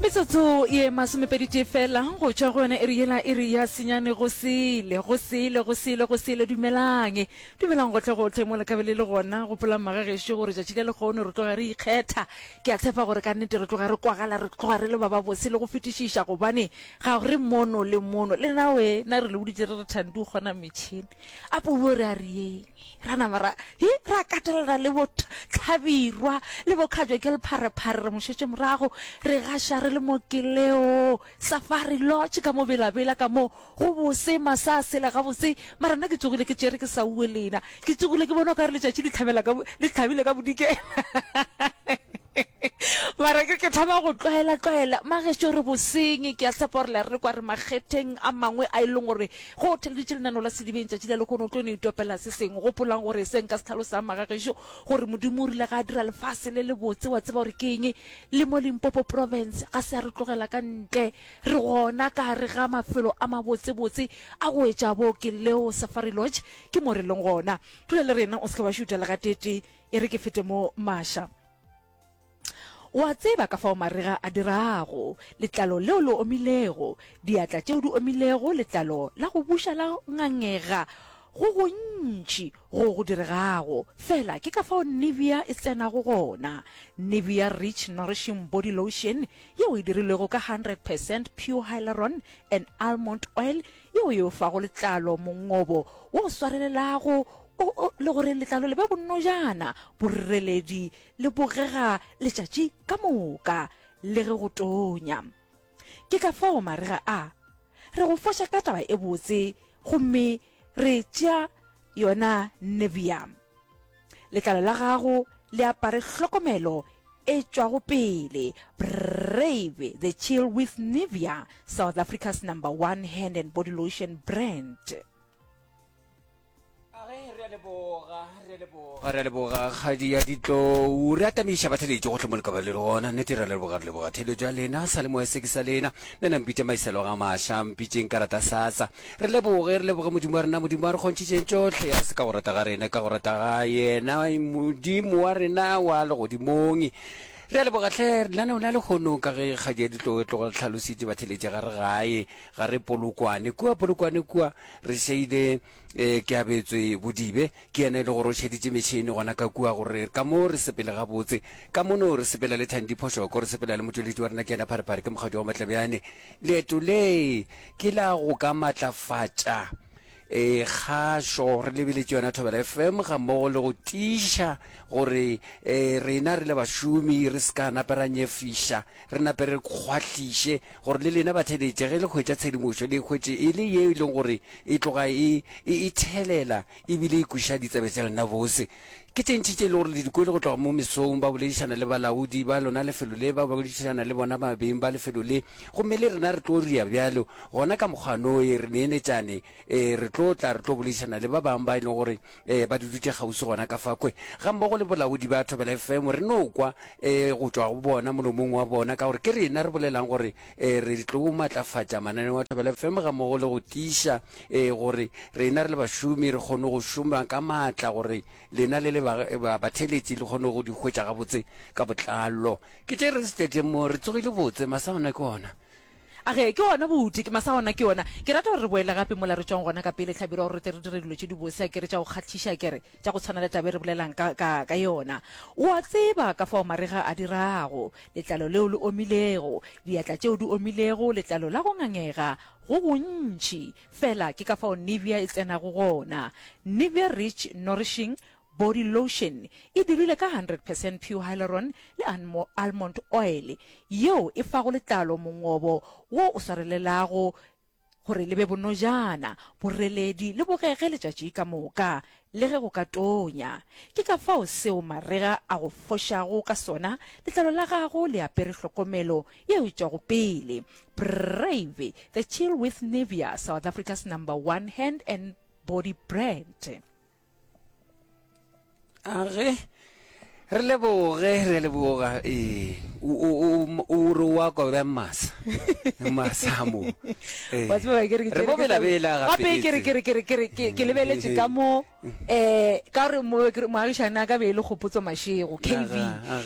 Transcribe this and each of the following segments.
Metsotso ye masomepeditee fela go tšwa go yona iri yela, iri ya senyane go sele, go sele, go sele, go sele. Dumelang, dumelang gohle-gohle mo le ka be le le gona. Gopolang magagešo gore tšatši la lehono re tloga re ikgetha. Ke a tshepa gore ka nnete re tloga re kwagala, re tloga re le ba babose le go fetišiša gobane ga re mono le mono. Le na we, na re le boditše re re Thandi o kgona metšhene. A puo re a re yeng. Ra nama ra, he, ra katelana le bo Hlabirwa le bo Kgajwa ke lepharephare re mo šetše morago, re gaša re le mo Keleo Safari Lodge ka mo Bela-Bela ka mo go bose, masa a sela gabotse, mara nna ke tsogile ke tšere ke sa uwe lena, ke tsogile ke bona o ka re letšatši le hlabela ka, le hlabile ka bodikela. Mara ke ke thoma go tlwaela-tlwaela. Magešo re boseng, ke a tshepa gore le a re kwa re makgetheng a mangwe a e leng gore ge o theleditše lenaneo la Sedibeng tšatši la lehono o tlo no itopela se sengwe. Gopolang gore se nka se hlalosang magagešo gore Modimo o rile ga a dira lefase le lebotse wa tseba gore ke eng le mo Limpopo Province ga se a re tlogela ka ntle. Re gona ka gare ga mafelo a mabotsebotse a go etša bo Keleo Safari Lodge ke mo re leng gona. Dula le rena o se ke wa šutha le gateetee e re ke fete mo Masha. O a tseba ka fao marega a dirago, letlalo leo le omilego, diatla tšeo di omilego, letlalo la go buša la ngangega, go gontši go go diregago. Fela ke ka fao Nivea e tsenago gona. Nivea Rich Nourishing Body Lotion yeo e dirilwego ka 100 percent pure hyaluron and almond oil yeo e o fago letlalo mongobo wo o swarelelago o, o, le gore letlalo le be bonnojana, boreledi le bogega letšatši ka moka le ge go tonya. Ke ka fao marega a re go foša ka taba e botse gomme re tšea yona Nivea. Letlalo la gago le apare hlokomelo e tšwago pele. Brave the chill with Nivea, South Africa's number one hand and body lotion brand. Age, re a leboga, re a leboga, re a leboga kgadi ya ditlou. Re atamiša batheletši gohle mo le ka ba le le gona. Nnete re a leboga, re leboga theletšo ya lena, sa le moya se ke sa lena. Nna na mpitše Maiselo ga Maša, mpitšeng karata sasa. Re leboge, re leboge Modimo wa rena, Modimo wa re kgontšhitšeng tšohle, a se ka go rata ga rena, ka go rata ga yena, Modimo wa rena wa legodimong. Re a leboga hle, lenaneo la lehono ka ge kgadi ya ditlou e tloga hlalositše batheletši ga re gae, ga re Polokwane. Kua Polokwane kua re šeile eh, ke abetswe Bodibe, ke yena e le gore o šeditše metšhene gona ka kua gore ka mo re sepele gabotse. Ka mono re sepela le Thandi Phošoko, re sepela le motšweletši wa rena ke yena Pharephare, ke mokgadi wa Matlebjane. Leeto le ke la go ka matlafatša e kgašo re lebeletše yona Thobela FM gammogo le go tiiša gore e, rena re le bašomi re se ka nape ra nyefiša, re nape re kgwahliše gore le lena batheletše ge le hwetša tshedimošo le e hwetše e le ye e leng gore e tloga e, e, e thelela ebile e kweša ditsebe tša lena bose. Ke tše ntši tše e le gore le di kwele go tloga mo mesong, ba boledišana le balaodi ba lona lefelo le, ba boledišana le bona ba beng ba lefelo le, gomme le rena re tlo ria bjalo. Gona ka mokgwanoe re neenetšane, ee, re tlo tla re tlo boledišana le ba bangwe ba e leng gore ee, ba dudutše kgauswi gona ka fa kwe, gammogo le bolaodi ba Thobela FM, re no kwa ee, go tšwa go bona molomong wa bona, ka gore ke rena re bolelang gore ee, re tlo matlafatša mananeo a Thobela FM gammogo le go tiiša ee, gore rena re le bašomi re kgone go šoma ka maatla gore lena le le batheeletši le kgone go di hwetša gabotse ka botlalo. Ke tše re se mo, re tsogile botse, masa ona ke ona. A ge, ke ona buti, ke masa ona ke ona. Ke rata gore re boele gape mola re tšwang gona ka pele, Hlabirwa, gore re tle re dire dilo tše dibose, a ke re, tša go kgahliša, a ke re, tša go tshwana le taba e re bolelang ka, ka, ka yona. O a tseba ka fao marega a dirago, letlalo leo le omilego, diatla tšeo di omilego, letlalo la go ngangega go gontši. Fela ke ka fao Nivea e tsenago gona. Nivea Rich Nourishing Body Lotion e dirilwe ka 100 percent pure hyaluron le almond oil yeo e fago letlalo mongobo wo o swarelelago gore le be bonojana, boreledi le bogege letšatši ka moka le ge go ka tonya. Ke ka fao seo marega a go fošago ka sona, letlalo la gago le apere hlokomelo yeo e tšwago pele. Brave the chill with Nivea, South Africa's number one hand and body brand. A ge re leboge, re leboga. Ee, o, o, o, o re wa kwa bjang masa? Masamo. Eh. Wa tseba ke re ke Re bo bela-bela gape ke re ke re ke re ke re ke ke lebeletše ka mo eh ka re mo ke re moagišane a ka be e le Kgopotso Mashego KV.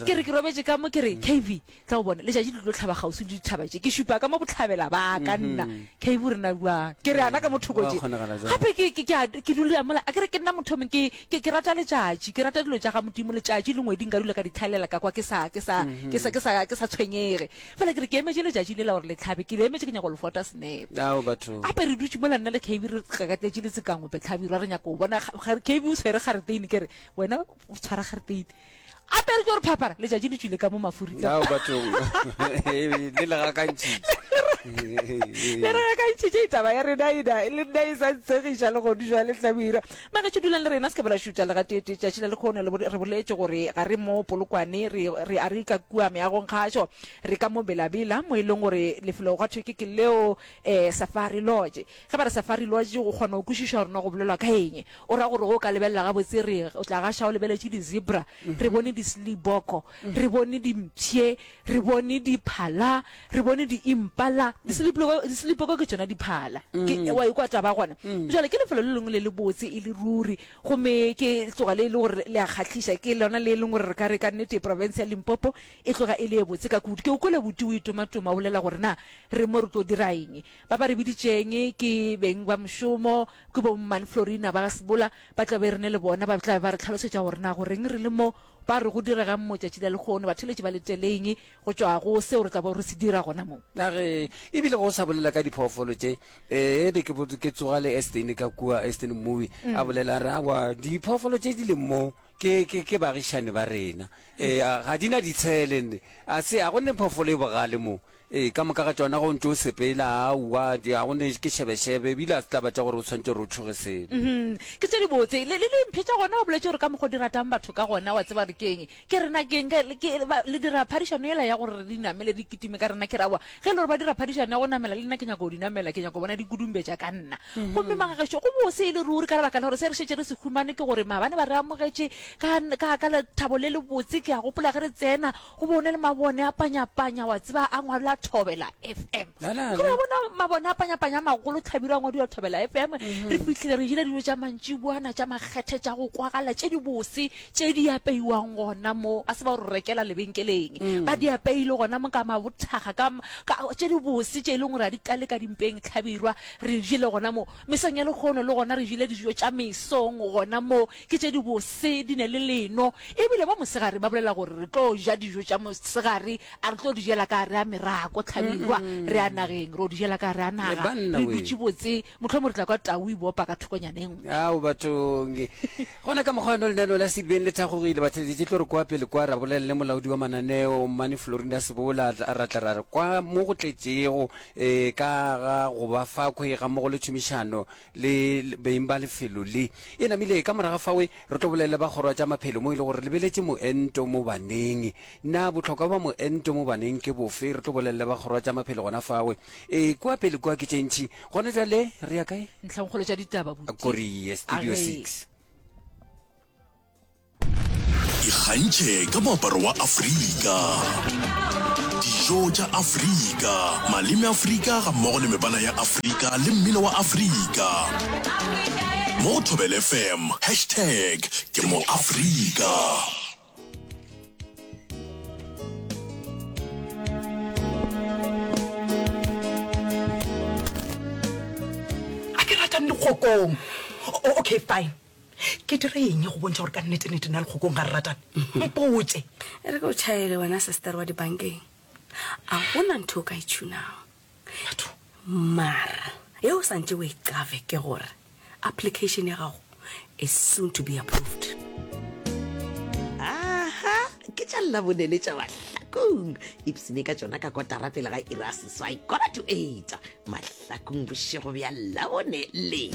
Ke re ke robetše ka mo ke re KV tla o bone letšatši le tlo hlaba kgauswi le dithaba tše ke šupa ka mo bohlabela ba ka nna KB o re na bjang ke re ana ka mo thoko tše gape ke ke ke ke dula mola a ke re ke nna motho ke ke ke rata letšatši ke rata dilo tša ga Modimo letšatši le ngwedi nka dula ka di tlhaelela ka kwa ke sa ke sa ke sa ke sa ke sa tshwenyege fela ke re ke emetše letšatši lela gore le tlhabe ke le emetše ke nyaka go le fota senepe Ao batho. Gape re dutše mola nna le KB re gakatletše le Tsekangope Hlabirwa re nyaka go bona KB o tshwere gareteine ke re wena o tshwara gareteine Gape re tlo re phapara, letšatši le tšwile ka mo mafuri ka. Ao bathong, le le gakantšhitše. Le re gakantšhitše taba ya rena ena, le nna e sa ntshegiša le gonu jwale Hlabirwa. Magetšo dulang le rena, se ke ba la šutha le gateetee. Tšatši la lekhono le re boletše gore ga re mo Polokwane, re, re a re ka kua meagong kgašo, re ka mo Bela-Bela, mo e leng gore lefelo gwa thwe ke ke leo eh, Safari Lodge. Ge ba re Safari Lodge o kgona go kwešiša gore na go bolelwa ka eng. O ra gore ge o ka lebelela gabotse re o tla gaša o lebeletše di-zebra, re bone di-sliboko, re bone dimpšhe, re bone diphala, re bone di-impala. Di-sliboko ke tšona diphala. Ke, wa ikwa taba gona? Bjale ke lefelo le lengwe le lebotse e le ruri, gomme ke tloga le e le gore le a kgahliša. Ke lona le e leng gore re ka re ka nnete profense ya Limpopo e tloga e le e botse ka kudu. Ke o kwele buti o itomatoma o bolela gore na re mo re tlo dira eng. Ba ba re biditšeng ke beng ba mošomo, ke bo Mmane Florina ba ga Sebola, ba tla be re ne le bona, ba tla be ba re hlalosetša gore na goreng re le mo, ba re go diregang mo tšatši la lehono, batheeletši ba leteleng go tšwa go seo re tla bego re se dira gona mo. Na ge e bile go sa bolela ka diphoofolo tše, ee, be ke, ke tsoga le Eston ka kua, Eston Mmubi, a bolela a re, Aowa, diphoofolo tše di leng mo ke, ke, ke baagišani ba rena. Ee, ga di na ditshele, nne. A se, a go ne phoofolo e bogale mo. Ee, ka moka ga tšona ge o ntše o sepela, aowa, di, ga go ne, ke šebešebe, ebile ga se taba tša gore o swanetše gore o tšhoge selo. Mhm. Ke tše dibotse. Le, le dimphe tša gona, o boletše gore ka mokgwa o di ratang batho ka gona, wa tseba gore ke eng. Ke rena ke eng, ke, ke, ba, le dira phadišano yela ya gore re di namele, di kitime ka rena. Ke re, aowa, ge e le gore ba dira phadišano ya go namela, le nna ke nyaka go di namela, ke nyaka go bona di kudumbetša ka nna. Gomme magagešo, go bose e le ruri ka lebaka la gore se re šetše re se humane ke gore maabane ba re amogetše ka, ka, ka lethabo le lebotse. Ke a gopola ge re tsena, Go be go na le mabone a panyapanya, wa tseba, a ngwalwa Thobela FM. La, la, Ke la. ra bona mabone a panyapanya a magolo, Hlabirwa a ngwadiwa Thobela FM. Re fihlile re jele dijo tša mantšiboana, tša makgethe, tša go kwagala, tše dibose, tše di apeiwang gona mo. A se ba go re rekela lebenkeleng. Ba di apeile gona mo ka mabothaga, ka, ka, tše dibose tše e leng gore ga di tlale ka dimpeng, Hlabirwa. Re jele gona mo. Mesong ya lehono le gona re jele dijo tša mesong gona mo. Ke tše dibose, di ne le leno. E bile mo mosegare ba bolela gore re tlo ja dijo tša mosegare, a re tlo di jela ka gare ga merako, Hlabirwa, re ya nageng, ro di jela ka gare ga naga, Banna re we. dutše botse, mohlomong re tla kwa tau e bopa ka thokonyana e nngwe. Ao bathong. Gona ka mokgwa wona lenaneo la Sedibeng le thakgogile, batheeletši tlo re kwa pele kwa ra bolela le molaodi wa mananeo Mmane Florinda Sebola, ra tla ra re kwa mo go tletšego um ka ga go ba fakhwe gammogo le tšhomišano le beng ba lefelo le. E namile ka morago fawe re tlo bolela le ba kgoro ya tša maphelo mo e le gore re lebeletše moento mo baneng. Na bohlokwa ba moento mo baneng ke bofe? Re tlo bolela le ba kgoro ya tša maphelo gona fawe. E kua pele kua ke tše ntši. Gona bjale re ya kae? Ntlhangkgolo tša ditaba, buti. Korie, Studio A re. 6. Ikgantšhe ka moaparo wa Afrika, dijo tša Afrika, maleme Afrika gammogo le mebala ya Afrika le mmino wa Afrika. Mo go Thobela FM, hashtag ke mo Afrika. A ke ratang dikgokong. Okay, fine. Ke dire eng go bontšha gore ka nnete-nnete nna le Kgokong ga re ratane? Mpotše. E re ke o tšhaele wena sister wa dibankeng. A gona ntho o ka e tšhunago. Batho. Mara ye o santše o e qave ke gore application ya gago is soon to be approved. Aha, ke tša Labone le tša Mahlakong. Ipsene ka tšona ka kotara pele ga iri ya seswai, quarter to eight. Mahlakong bošego bja Labone le.